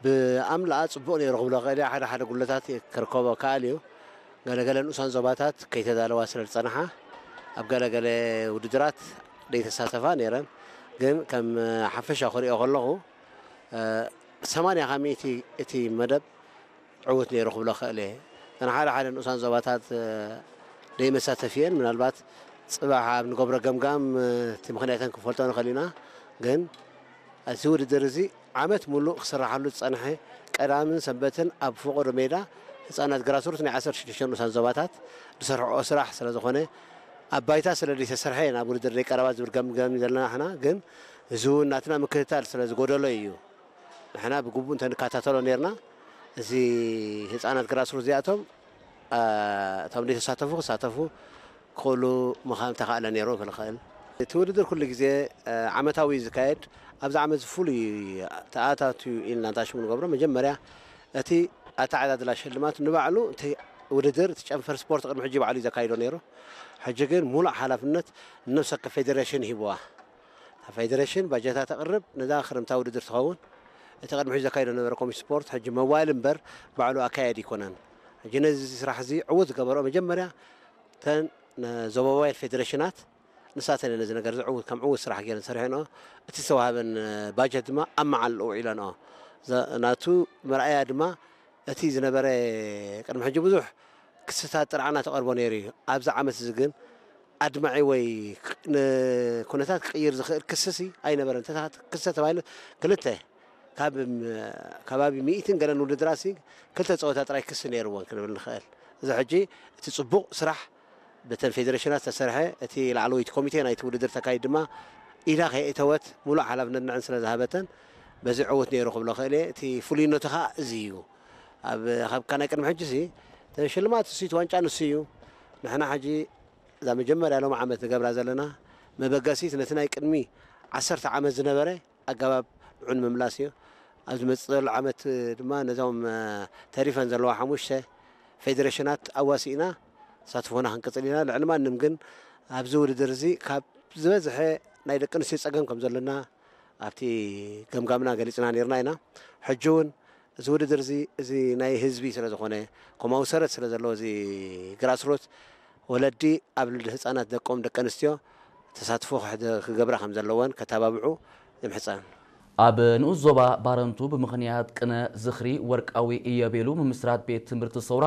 ብኣምላኣ ጽቡቕ ነይሩ ክብሎ ክእል እየ። ሓደ ሓደ ጉለታት ክርከቦ ከኣል እዩ። ገለገለ ንኡሳን ዞባታት ከይተዳለዋ ስለ ዝጸንሓ ኣብ ገለገለ ውድድራት ደይተሳተፋ ነይረን። ግን ከም ሓፈሻ ክሪኦ ከለኹ ሰማንያ ካብ ሚእቲ እቲ መደብ ዕዉት ነይሩ ክብሎ ክእል እየ። እተን ሓደ ሓደ ንኡሳን ዞባታት ደይመሳተፊ እየን። ምናልባት ጽባሕ ኣብ ንገብሮ ገምጋም እቲ ምኽንያተን ክንፈልጦ ንኽእል ኢና። ግን እቲ ውድድር እዚ ዓመት ሙሉእ ክስራሓሉ ዝጸንሐ ቀዳምን ሰንበትን ኣብ ፈቐዶ ሜዳ ህጻናት ግራስሩት ናይ ዓሰርተ ሽዱሽተ ንኡሳን ዞባታት ዝሰርሕኦ ስራሕ ስለ ዝኾነ ኣብ ባይታ ስለ ዘይተሰርሐ ናብ ውድድር ደይቀረባ ዝብል ገምገም ዘለና ንሕና። ግን እዚ እውን ናትና ምክትታል ስለ ዝጎደሎ እዩ። ንሕና ብግቡእ እንተንከታተሎ ነርና፣ እዚ ህጻናት ግራስሩት እዚኣቶም እቶም ዘይተሳተፉ ክሳተፉ ክኽእሉ ምዃን ተኻእለ ነይሩ ክልኽእል። እቲ ውድድር ኩሉ ግዜ ዓመታዊ እዩ ዝካየድ። ኣብዚ ዓመት ፍሉይ ተኣታትዩ ኢልና እንታሽሙ ንገብሮ፣ መጀመርያ እቲ ኣተዓዳድላ ሽልማት ንባዕሉ እቲ ውድድር እቲ ጨንፈር ስፖርት ቅድሚ ሕጂ ባዕሉ እዩ ዘካይዶ ነይሩ። ሕጂ ግን ሙሉእ ሓላፍነት ንነብሰ ወከፍ ፌዴሬሽን ሂብዋ። እታ ፌዴሬሽን ባጀታ ተቕርብ፣ ነዛ ክረምታ ውድድር ትኸውን። እቲ ቅድሚ ሕጂ ዘካይዶ ነበረ ኮሚሽን ስፖርት ሕጂ መዋል እምበር ባዕሉ ኣካየድ ይኮነን። ሕጂ ነዚ ስራሕ እዚ ዕዉት ዝገበርኦ መጀመርያ እተን ዞባውያን ፌዴሬሽናት ንሳተን እየን ነዚ ነገር እዚ ዕዉት ከም ዕዉት ስራሕ ገይረን ሰሪሐንኦ። እቲ ዝተዋህበን ባጀት ድማ ኣብ መዓልኡ ውዒለንኦ። ናቱ መርኣያ ድማ እቲ ዝነበረ ቅድሚ ሕጂ ብዙሕ ክስታት ጥርዓና ተቐርቦ ነይሩ እዩ። ኣብዚ ዓመት እዚ ግን ኣድማዒ ወይ ንኩነታት ክቕይር ዝኽእል ክስሲ ኣይነበረን። ክስተ ተባሂሉ ክልተ ካብ ከባቢ ሚእትን ገለን ውድድራሲ ክልተ ፀወታ ጥራይ ክሲ ነይርዎን ክንብል ንኽእል። እዚ ሕጂ እቲ ፅቡቕ ስራሕ ብተን ፌዴሬሽናት ዝተሰርሐ እቲ ላዕለወይቲ ኮሚቴ ናይቲ ውድድር ተካይድ ድማ ኢዳ ከየእተወት ሙሉእ ሓላፍነት ንዕን ስለ ዝሃበተን በዚ ዕውት ነይሩ ክብሎ ክእል እየ። እቲ ፍሉይነቱ ከዓ እዚ እዩ። ኣብ ካብካ ናይ ቅድሚ ሕጂ ሲ ሽልማት ንሱ ዋንጫ ንሱ እዩ። ንሕና ሕጂ እዛ መጀመርያ ሎም ዓመት ንገብራ ዘለና መበገሲት ነቲ ናይ ቅድሚ ዓሰርተ ዓመት ዝነበረ ኣገባብ ንዑ ንምምላስ እዩ። ኣብ ዝመፅእ ዘሎ ዓመት ድማ ነዞም ተሪፈን ዘለዋ ሓሙሽተ ፌዴሬሽናት ኣዋሲእና ተሳትፎና ክንቅፅል ኢና። ልዕሊ ማንም ግን ኣብዚ ውድድር እዚ ካብ ዝበዝሐ ናይ ደቂ ኣንስትዮ ፀገም ከም ዘለና ኣብቲ ገምጋምና ገሊፅና ነርና ኢና። ሕጂ እውን እዚ ውድድር እዚ እዚ ናይ ህዝቢ ስለ ዝኾነ ከምኡ ሰረት ስለ ዘለዎ እዚ ግራስሮት ወለዲ ኣብ ልዕሊ ህፃናት ደቆም ደቂ ኣንስትዮ ተሳትፎ ክገብራ ከም ዘለወን ከተባብዑ ይምሕፀን። ኣብ ንኡስ ዞባ ባረንቱ ብምኽንያት ቅነ ዝኽሪ ወርቃዊ ኢዮቤሉ ምምስራት ቤት ትምህርቲ ሰውራ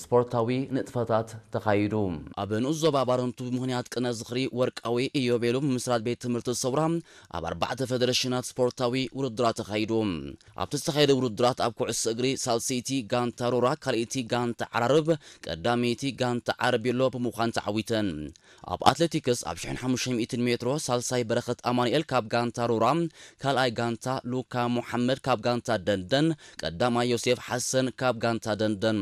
ስፖርታዊ ንጥፈታት ተኻይዱ። ኣብ ንኡስ ዞባ ባረንቱ ብምኽንያት ቅነ ዝኽሪ ወርቃዊ ኢዮቤሉ ምምስራት ቤት ትምህርቲ ሰውራ ኣብ ኣርባዕተ ፌደሬሽናት ስፖርታዊ ውድድራት ተኻይዱ። ኣብቲ ዝተኻየደ ውድድራት ኣብ ኩዕሶ እግሪ ሳልሰይቲ ጋንታ ሮራ ካልኣይቲ ጋንታ ዓራርብ ቀዳመይቲ ጋንታ ዓረቢሎ ብምዃን ተዓዊተን። ኣብ ኣትሌቲክስ ኣብ ሽሕን ሓሙሽተ ሚእትን ሜትሮ ሳልሳይ በረኸት ኣማኑኤል ካብ ጋንታ ሮራ፣ ካልኣይ ጋንታ ሉካ ሙሓመድ ካብ ጋንታ ደንደን፣ ቀዳማይ ዮሴፍ ሓሰን ካብ ጋንታ ደንደን።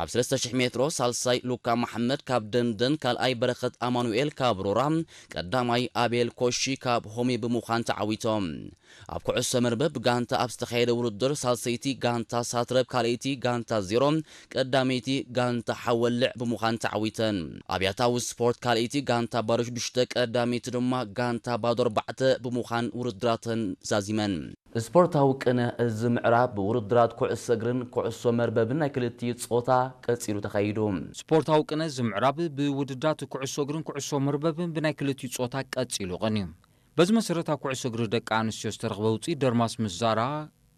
ኣብ ሰለስተ ሽሕ ሜትሮ ሳልሳይ ሉካ መሓመድ ካብ ደንደን፣ ካልኣይ በረኸት ኣማኑኤል ካብ ሮራ፣ ቀዳማይ ኣቤል ኮሺ ካብ ሆሚ ብምዃን ተዓዊቶም። ኣብ ኩዕሶ መርበብ ብጋንታ ኣብ ዝተኻየደ ውድድር ሳልሰይቲ ጋንታ ሳትረብ ካልኣይቲ ጋንታ ዜሮ፣ ቀዳመይቲ ጋንታ ሓወልዕ ብምዃን ተዓዊተን። ኣብያታዊ ስፖርት ካልኣይቲ ጋንታ ባዶ ሽዱሽተ፣ ቀዳመይቲ ድማ ጋንታ ባዶ ኣርባዕተ ብምዃን ውድድራተን ዛዚመን። ስፖርታዊ ቅነ እዚ ምዕራብ ብውድድራት ኩዕሶ እግርን ኩዕሶ መርበብን ናይ ክልቲኡ ጾታ ቀጺሉ ተኻይዱ። ስፖርታዊ ቅነ እዚ ምዕራብ ብውድድራት ኩዕሶ እግርን ኩዕሶ መርበብን ብናይ ክልቲኡ ጾታ ቀጺሉ ቀንዩ። በዚ መሰረት ኣብ ኩዕሶ እግሪ ደቂ ኣንስትዮ ዝተረኽበ ውፅኢት ደርማስ ምስ ዛራ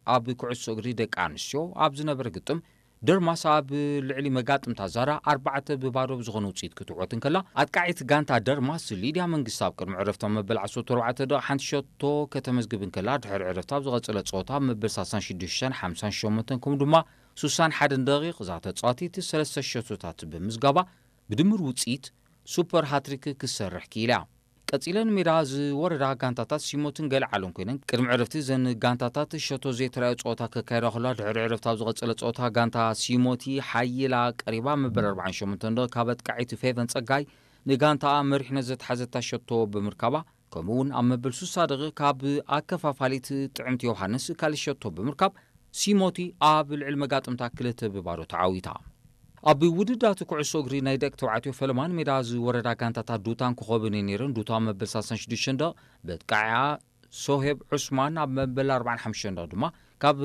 ኣብ ኩዕሶ እግሪ ደቂ ኣንስትዮ ኣብ ዝነበረ ግጥም ደርማስ ኣብ ልዕሊ መጋጥምታ ዛራ ኣርባዕተ ብባዶ ብዝኾነ ውፅኢት ክትዕወት እንከላ ኣጥቃዒት ጋንታ ደርማስ ሊድያ መንግስቲ ኣብ ቅድሚ ዕረፍታ መበል ዓሰርተ ኣርባዕተ ደቂቕ ሓንቲ ሸቶ ከተመዝግብ እንከላ ድሕሪ ዕረፍታ ኣብ ዝቐፀለ ፀወታ ኣብ መበል ሳልሳን ሽዱሽተን ሓምሳን ሸሞንተን ከምኡ ድማ ሱሳን ሓደን ደቂቕ እዛ ተፃዋቲት ሰለስተ ሸቶታት ብምዝጋባ ብድምር ውፅኢት ሱፐር ሃትሪክ ክትሰርሕ ክኢላ። ቀጺለን ሜዳ ዝወረዳ ጋንታታት ሲሞትን ገልዓሎን ኮይነን ቅድሚ ዕረፍቲ እዘን ጋንታታት ሸቶ ዘይተራዮ ጸወታ ከካየዳ ከለዋ ድሕሪ ዕረፍቲ ኣብ ዝቐጸለ ጸወታ ጋንታ ሲሞቲ ሓይላ ቀሪባ መበል ኣርባዓን ሸሞንተን ደቂቕ ካብ ኣጥቃዒት ፌቨን ጸጋይ ንጋንታኣ መሪሕነት ዘትሓዘታ ሸቶ ብምርካባ ከምኡ እውን ኣብ መበል ሱሳ ደቂቕ ካብ ኣከፋፋሊት ጥዕምቲ ዮሃንስ ካልእ ሸቶ ብምርካብ ሲሞቲ ኣብ ልዕሊ መጋጥምታ ክልተ ብባዶ ተዓዊታ። ኣብ ውድዳት ኩዕሶ እግሪ ናይ ደቂ ተባዕትዮ ፈለማን ሜዳ ዝወረዳ ጋንታታት ዱታን ኮኾብን እየን ነይረን። ዱታ መበል ሳልሳን ሽዱሽተን ደቕ በጥቃዕያ ሶሄብ ዑስማን ኣብ መበል ኣርባዓን ሓሙሽተን ደቕ ድማ